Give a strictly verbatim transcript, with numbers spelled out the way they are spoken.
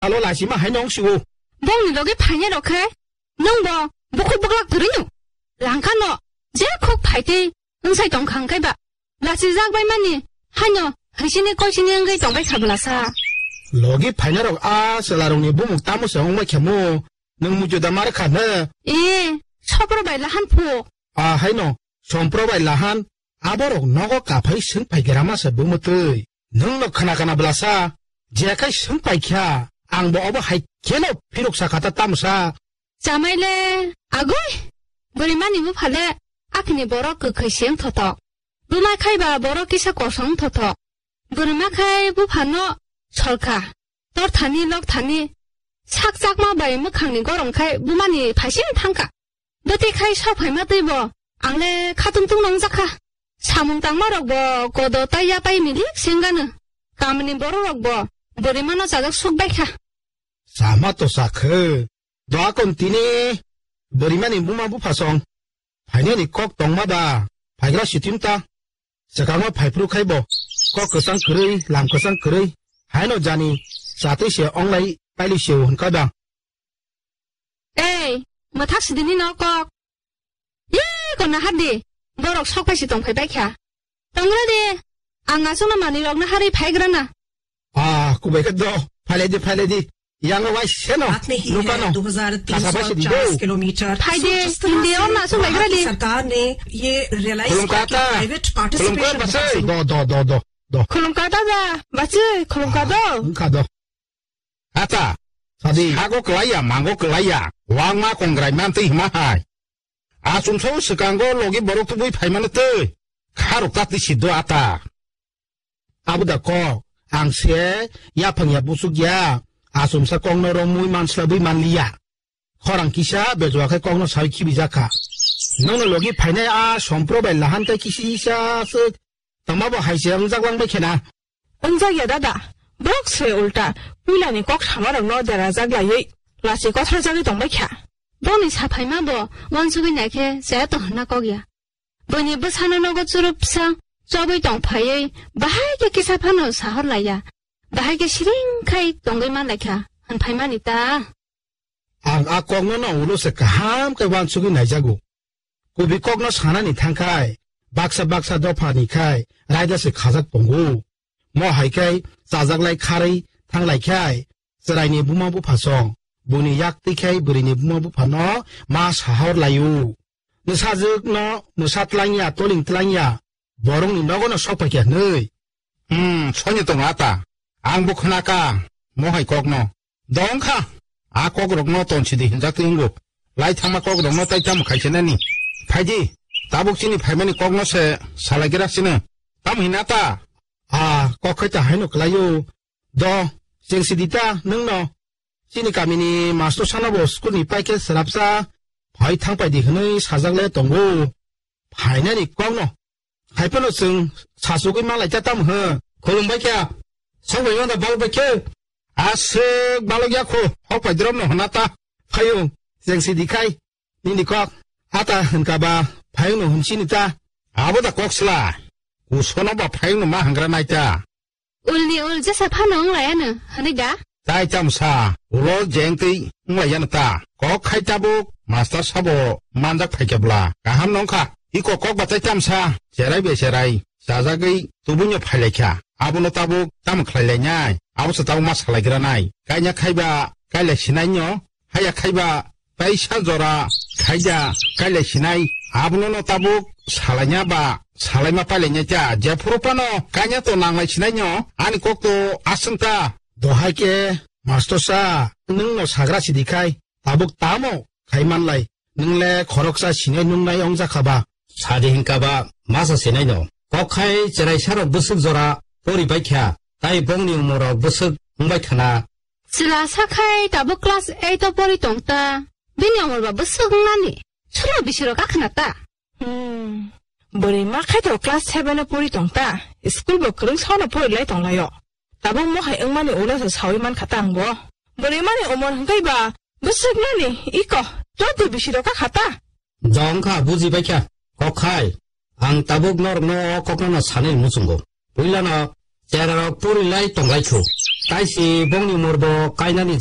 Alo lachima hai nong siwo. Bongni loge phainai rok khe nwng bo bukhuk buklak kwrwi no. Langkha no je khuk phaitwi wngsai tong kha hwnkhe ba. Lachi jak bai mani haino hwisini koisini wngwi tong bai kha bwlasa. Logi phainai rok a chwla rokni bumung tamo se wng bai kha mo. Nwng muitu da mar kha hwno. E, sopro bai lahan phu. A haino sompro bai lahan aborok nogo kaphai swng phai gra ma se bumutwi. Nwng no khna khna bwlasa, je khai swng phai kha, ang bo obo hai kheno phirok sa kha ta tamsa. Chamai le, agoi, bwrwi mani bupha le, akhini borok kwkhwi se wng thothok. Buma khai ba borok kisa kosong wng thothok. Bwrwi ma khai bupha no sol kha, tor thani lok thani, sak chakma bai mwkhang ni gorom khai buma ni phaising thang kha. Bwtwi khai sok phaima twi bo ang le khatung tung nong jak kha. Samung tangma rok bo kodo tai ya tai milik sengano. Kamini borok rok bo bwrwi mano chajak suk bai kha. Sama to sakhe. Doa kon tini bwrwi mani buma bupha song. Phainani kok tongma ba. Phaigra sitim ta. Swkangma phaiphru khai bo. Kok kwchang kwrwi, lam kwchang kwrwi. Haino jani chatwi se onglai paili se hwn kha da. Ei, mwthak sidini no kok. Ye, ko nahar di. Borok sok phai si tong phai bai kha. Tongra di. Ang aswkno manwi rokno harwi phai gra na. Ah, kubai khe do. Phailai di, phailai di. Yang wai seno. Lukano. Kasa phai si di do. Phai di, hindi o na aswk bai gra di. Khulum kata. Khulum kata bachai. Do, do, do, do, do. Khulum kata da. Bachai, khulum kata. Khulum kata. Ata, sadi. Sago kwlaiya, mango kwlaiya, wangma kongrai mantwi hima hai. Achumsa o swkango logi borok tubui phaimani twi, kharok ta twi siddo ata. Abuda kok, ang se yaphang ya busuk ya, achumsa kokno romwi manslabwi manliya. Khorang kisa bejwa khe kokno sawi khibi jakha. Nokno logi phainai a sompro bai lahan kai kisi isa se tongma bo hai se wngjak lang bai khena. Wngjak ya dada, borok se ulta puilani kok samarokno derajak laiwi lachi kothorjagwi tongbai kha. Boni saphaima bo wansugwi naikhe chaya tong hwnna kok ya. Buini bwsano nogo churupsa chobwi tong phaiwi bahai khe kisa phano sahor laiya. Bahai khe siring khai tongwi man laikha hwn phaimani ta. Ang a kokno no ulo se kaham khe wansugwi naijago. Kubi kokno sanani thangkhai, baksa baksa dophani khai raida se khajak tongo. Mo hai khai chajaklai kharwi thanglaikhai, chwraini buma buphasong, buini yak twikhai bwrwini buma buphano ma sahor laio. Mwsajwkno mwsa tlangya, toling tlangya, borokni nogono sok phaikha hwnwi. Hmm, soni tongo ata. Ang bo khwnakha, mo hai kokno. Dongkha, a kokrokno tonsidi hinjak twi wngo. Lai thangma kokrokno tai tamo khaisinani. Phaidi, tabuk chini phaimani kokno se salaigra sino. Tamo hinata? A, kok khai ta haino kwlaio. Do, chengsidi ta nwngno. Chini kamini master sano bo school ni paikhe swrapsa phai thangpaidi hwnwi sajakle tongo. Phainani kokno. Haiphano chwng sachugwi manlai ta tamo hwn? Khulumbai kha. Sokbai mano balbai khe. Aswk balok ya kho. Hok pai drop no hwna ta. Phaiyung. Chengsidi khai. Nini kok. Ata hwnkha ba phayung no hwnchini ta. Abo da kok sla. Kusono ba phayung no ma hangra nai ta. Ulni ul jesa phano wng laiya no, hwnwi da? Tai tamsa, ulo jeng twi wng laiya no ta. Kok khai tabuk, master sabo manjak phaikha bwla. Kaham no wngkha, iko kok ba tai tamsa, cherai be cherai, chajagwi tubui no phailaikha. Abono tabuk tamo khlai lainai, abo se tabuk ma salaigra nai. Kaina khai ba, kailai sinai no, haya khai ba, Taisa jora khaida kailai sinai, abono no tabuk salaina ba salaima pailaina cha, jephuru phano kanya to nanglai sinai no, ani kok to aswng ta. Dohai khe, master sa, nwng no sagra sidi khai, tabuk tamo khai manlai, nwng le khoroksa sinai nungnai ong jakha ba. Sadi hinkha ba masa sinai no. Kok khai cherai sarok bwswk jora pori bai kha, tai bongni umor rok bwswk wng bai khana. Chwla sa khai tabuk class eight o pori tong ta. Bini umor ba bwswk wng nani. Sulo bisi rok akhna ta. Hmm. Bwrwi ma khai to class seven o pori tong ta. School bo kwrwng sa no pori lai tong lai o. Tabuk mo hai wng mani ulo se sawi man kha ta ang bo. Bwrwi mani umor hwnkhe ba bwswk nani iko joto bisi rok kha ta. Jong kha buji bai kha. Kok khai. Ang tabuk norok no o kok no sanai muchungo. Puila no chera rok pori lai tong lai kho. Taisi bongni murdo kainani